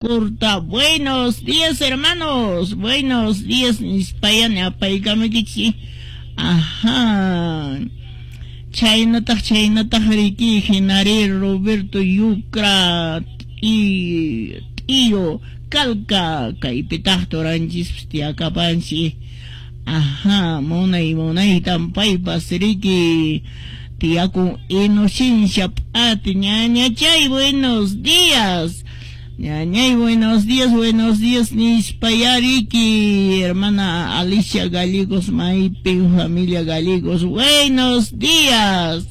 Corta. Buenos días, hermanos. Buenos días, nispaya ñapaykamaykichik. Ajá. Chaynataq chaynataq riki hinari Roberto Yucra y Tío Calca kaypitaq turanchis tiyakapanchik. Ajá, munay munaytan paypas riki tiyakun Inocencia p'ati ñañachay buenos días. Ñañay, buenos días, nispayariki, hermana Alicia Gallegos, Maipin, familia Gallegos, buenos días.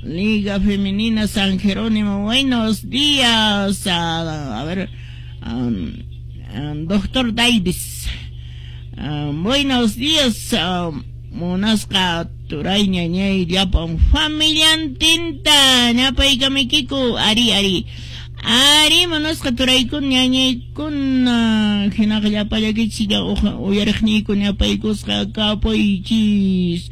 Liga Femenina San Jerónimo, buenos días. A ver, doctor Davis, buenos días, munasqa turay ñañay llapan familiantinta, ñapaykamiykiku, ari, ari. Ari, munasqa turaykuna ñañaykuna hinaqa llapallakichik uyariqniyku ñapaykusqa kapuychis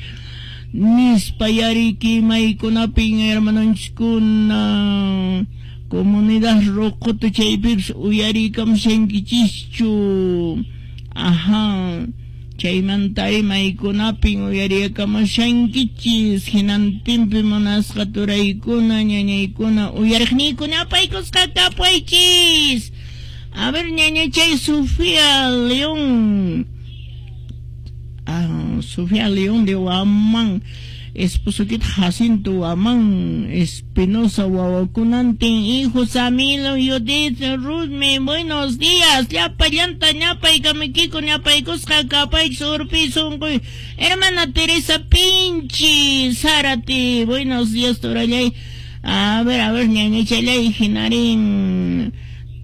nispa yariki maykunapin hermanonchiskuna comunidad Rocoto chaypipas uyariykamushankichischu. Ajá, chaymantari maykunapin uyariykamushankichis hinantinpi munasqa turaykuna ñañaykuna uyariqniykuna apaykusqa kapuychis. A ver, ñañachay Sofía León. Ah, Sofía León de Huamán, esposokita Jacinto Huamán, Espinosa wawakunantin, hijo Samilo, Judith, Ruthme, buenos días, llapa llanta, ñapaykamikiko, ñapaykusqa kapaychis urpi sunquy, hermana Teresa Pinchi, Zárate, buenos días, turallay. A ver, ñañachalay, hinarin,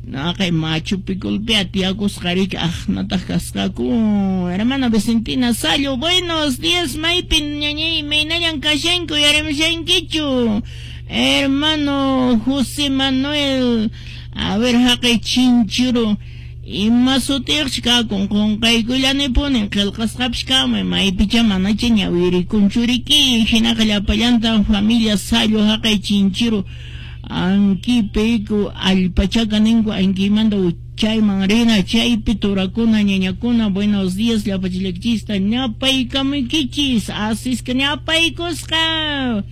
naqay Machu Picchu tiyakusqariki aqnataq kasqaku. Hermana Vicentina Sallo, buenos días, maypin ñañay, maynallan kashanku, yarimushankichu. Hermano José Manuel, a ver, haqay chinchuru, ima sutiyuqchi kakun, qunqaykullanipuni, qillqasqapish kamay, maypicha manacha ñawirikunchuriki, hinaqa llapallanta familia Sallo, haqay chinchiru, ankipiku allpachaka ninku ankimanta chayman rina chaypi turakuna ñañakuna, buenos días llapachillakchista ñapaykamuykichis asisqa ñapaykusqa.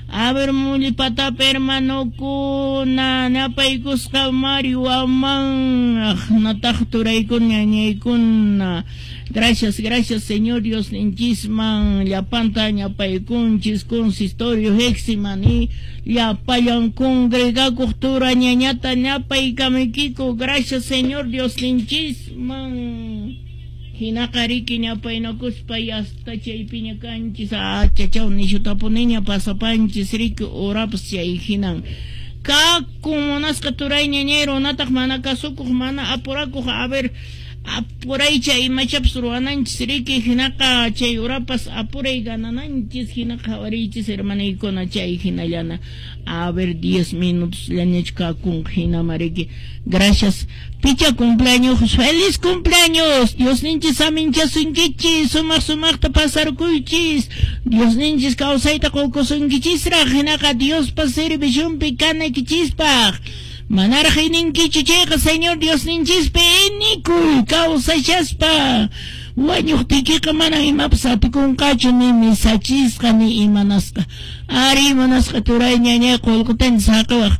A ver, mulipatapa hermanokuna ñapaykusqa Mario Huamán aqnataq turaykuna ñañaykuna. Gracias, gracias, Señor Dios ninchisman, llapanta ñapaykunchis, consistorio heximani, llapallan congregakuq tura ñañata ñapaykamuykiku, gracias, Señor Dios ninchisman. Hinaqa riki ñapaynakuspa hasta chaypiña kanchis, achachaw nishutapuniña pasapanchis riki urapas chay hinan. Kakun munasqa turay ñañay runataq mana kasukuq, mana apurakuq, a ver, apuraycha imachapas ruwananchis riki hinaqa chay urapas apuray ganananchis hinaqa qhawariychis hermanaykuna chay hinallana. A ver, 10 minutos llañachu kakunqa hinama riki. Gracias. Picha cumpleaños, feliz cumpleaños. Dios ninchis aminchasunkichis, sumaq sumaqta pasarkuychis. Dios ninchis kawsayta qukusunkichisraq hinaqa Diospa servicionpi kanaykichispaq. Manaraq ininkichu chayqa Señor Dios ninchispi inikuy kawsashaspa. Wañuqtiykiqa mana imapas atikunqachu ni misachisqa ni imanasqa. Ari imanasqa turay ñañay qullqitan saqiwaq.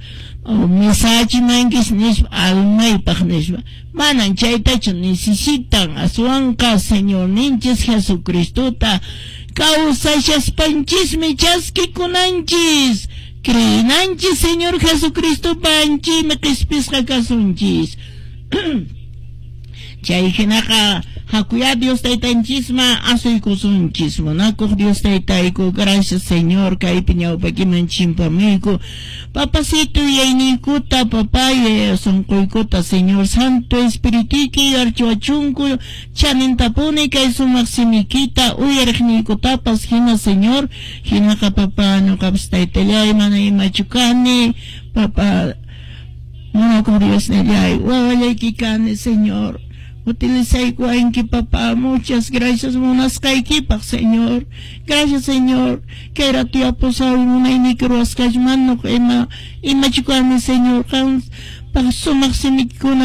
Misachimankis nispa almaypaq nispa. Manan chaytachu necesitan aswanqa Señor ninchis Jesucristota kawsashaspanchismi chaskikunanchis. Creenanchis Señor Jesucristo panchimi qispisqa kasunchis. Chay hinaqa hakuya Dios taytanchisma asuykusunchis. Munakuq Dios taytayku, gracias Señor, kaypi ñawpakiman chimpamuyku. Papacito yayniykuta, papay sunquykuta, Señor Santo Espirituyki archiwachunku, chanintapuni kay sumaq simikita uyariqniykutapas hina Señor, hinaqa papá ñuqapas taytallay mana imachu kani, papá munakuq Dios nillay, wawallayki kani Señor. Utilizaykuwanki, papá. Muchas gracias munasqaykipaq, Señor. Gracias, Señor. Kay rato yapusawi munayniyki ruwasqachman ima imachikuwami, Señor. Qan paq sumaq simikuna.